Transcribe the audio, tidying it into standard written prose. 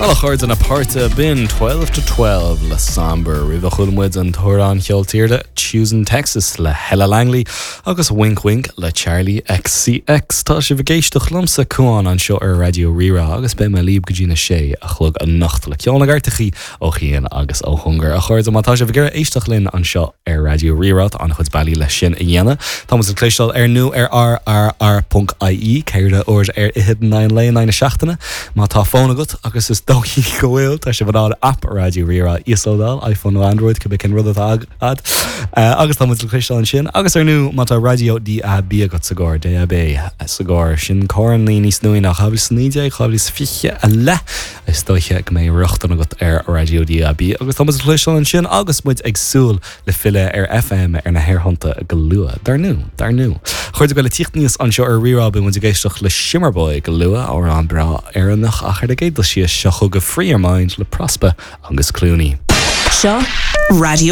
Bhuel, a chairde na páirte, b'in 12 to 12 le Somber. Roimhe chuala muid an t-amhrán cheol tíre Choosing Texas le Hella Langley agus Wink Wink le Charli XCX. Tá sibh ag éisteacht liomsa, Cuán, anseo ar Raidió Rí-Rá agus beidh mé libh go dtí na sé a chlog anocht le ceol na gcairteachaí ó chian agus ó chóngar. A chairde, má tá sibh ag iarraidh éisteacht linn anseo ar Raidió Rí-Rá, tá an-chuid bealaí leis sin a dhéanamh. Tá muid le cloisteáil ar ndóigh ar rrr.ie, 4 uair ar fhichead in aghaidh an lae in aghaidh na seachtaine. Má tá fón agat, agus is dóichí go bhfuil, tá sibh in ann aip Raidió Rí-Rá a íoslódáil, iPhone nó Android, cibé cén rud atá agat. Agus tá muid le cloisteáil ansin. Agus ar ndóigh, má tá raidió DAB agat sa gcarr, DAB sa gcarr, sin carrannaí níos nuaí ná 2019, 2020 i leith, Is dóiche go mbeidh rochtain agat ar Raidió DAB agus tá muid le cloisteáil ansin agus muid ag súil le filleadh ar FM ar na haerthonnta go luath. Dar ndóigh, dar ndóigh. A chairde, le tíocht aníos anseo ar Rí-Rá beidh muid ag éisteacht le Shimmerboy go luath, amhrán breá Éireannach ach ar an gcéad dul síos seo chugaibh Free Your Mind le Prospa agus Clooney. Seo Raidió.